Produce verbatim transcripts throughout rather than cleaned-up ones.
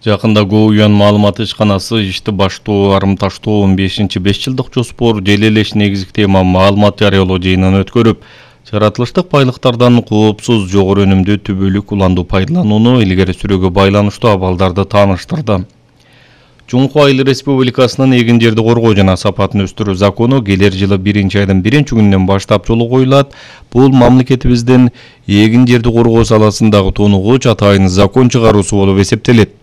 Жакында Гоуян маалымат ишканасы ишти баштоо, арымташтоо он бешинчи беш жылдык жоспор желелеш негизги тема маалымат жарыялоо жыйынын өткөрүп, жаратылыштык байлыктардан коопсуз жогору өнүмдүү түбөлүк уланду пайдаланууну илгери сүрүүгө байланыштуу абалдарды тааныштырды. Жумку Айыл Республикасынын эгин жерди коргоо жана сапатын өстүрүү закону келер жылы биринчи айдын биринчи күнүнөн баштап жолго коюлат. Бул мамлекетибиздин эгин жерди коргоо саласындагы тонугуч атайын закон чыгаруусу болуп эсептелет.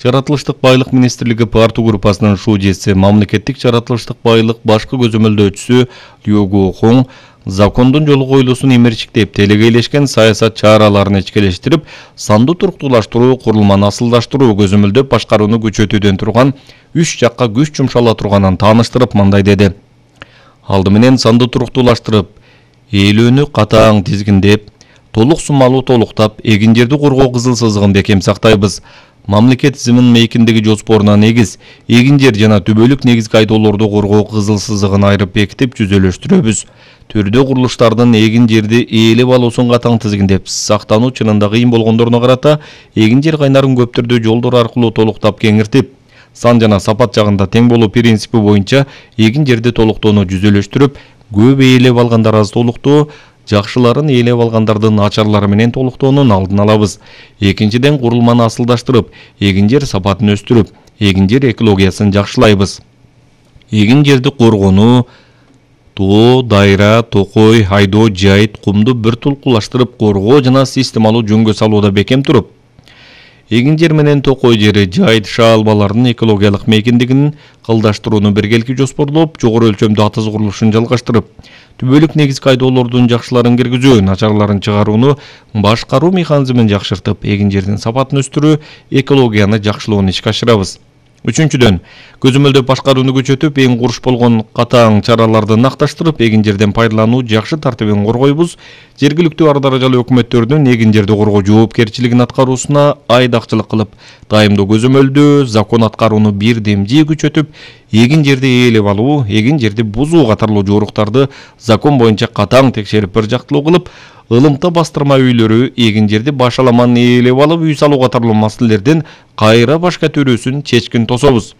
Жаратылыштык байлык министрлиги парту группасынын шужеси, мамлекеттик жаратылыштык байлык башкы көзөмөлдөөчүсү Лёго Хоң закондун жолго коюлуусун эмерчиктеп, телегейлешкен саясат чараларын ичкелештирип, сандуу туруктуулаштыруу, курулманы асылдаштыруу, көзөмөлдөп башкарууну күчөтүүдөн турган үч жакка күч жумшала турганын тааныштырып, мындай деди. Алды менен сандуу туруктуулаштырып, ээлөөнү катаң тизгиндеп, толук суммалуу толуктап, эгин жерди коргоо кызыл сызыгын бекем сактайбыз. Мамлекет тизимин мейкиндеги жоспоруна негиз, эгин жер жана түбөлүк негизги айдоолорду коргоо кызыл сызыгын айрып бекитип жүзөлөштүрөбүз. Төрдө курулуштардын эгин жерди ээлеп алуусун катаң тизгиндеп, сактануу чынында кыйын болгондоруна карата эгин жер кайнарын көп түрдүү жолдор аркылуу толуктап кеңиртип, сан жана сапат жагында тең болуу принципи боюнча эгин жерди толуктоону жүзөлөштүрүп, көп ээлеп алгандар аз толуктоо, жакшыларын ээлеп алгандардын начарлары менен толуктоонун алдын алабыз. Экинчиден, курулманы асылдаштырып, эгин жер сапатын өстүрүп, эгин жер экологиясын жакшылайбыз. Эгин жерди коргонуу, тоо, дайра, токой, айдоо, жайыт, кумду бир тулкулаштырып коргоо жана системалуу жөнгө салууда бекем туруп, эгин жер менен токой жери, жайыт шаалбаларынын экологиялык мейкиндигин кылдаштырууну биргелики жоспорлоп, жогору өлчөмдүү атыз курулушун жалгаштырып, түбөлүк негизги айдоолордун жакшыларын киргизүү, начарларын чыгарууну башкаруу механизмин жакшыртып, эгин жердин сапатын өстүрүү, экологияны жакшылоону ишке ашырабыз. Үчүнчүдөн, көзөмөлдөп башкарууну күчөтүп, эң куруш болгон катаң чараларды накташтырып, эгин жерден пайдалануу жакшы тартибин коргойбуз. Жергиликтүү ар даражалуу өкмөттөрдүн эгин жерди коргоо жоопкерчилигин аткаруусуна айдакчылык кылып, дайымдуу көзөмөлдөө, закон аткарууну бирдемжи күчөтүп, эгин жерди ээлеп алуу, эгин жерди бузуу катарлуу жоруктарды закон боюнча катаң текшерип бир жактылуу кылып, ылымта бастырма үйлөрү, эгин жерди башаламан ээлеп алып үй салуу катарлуу маселелерден кайра башка төрүүсүн чечкин тособуз.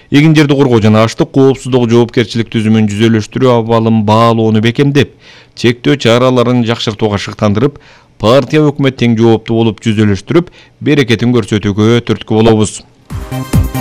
Эгин жерди коргоо жана аштык коопсуздук жоопкерчилик түзүмүн жүзөлөштүрүү абалын баалоону бекемдеп, чектөө чараларын жакшыртууга шыктандырып, партия өкмөт тең жооптуу болуп жүзөлөштүрүп, берекетин көрсөтүүгө түрткү болобуз.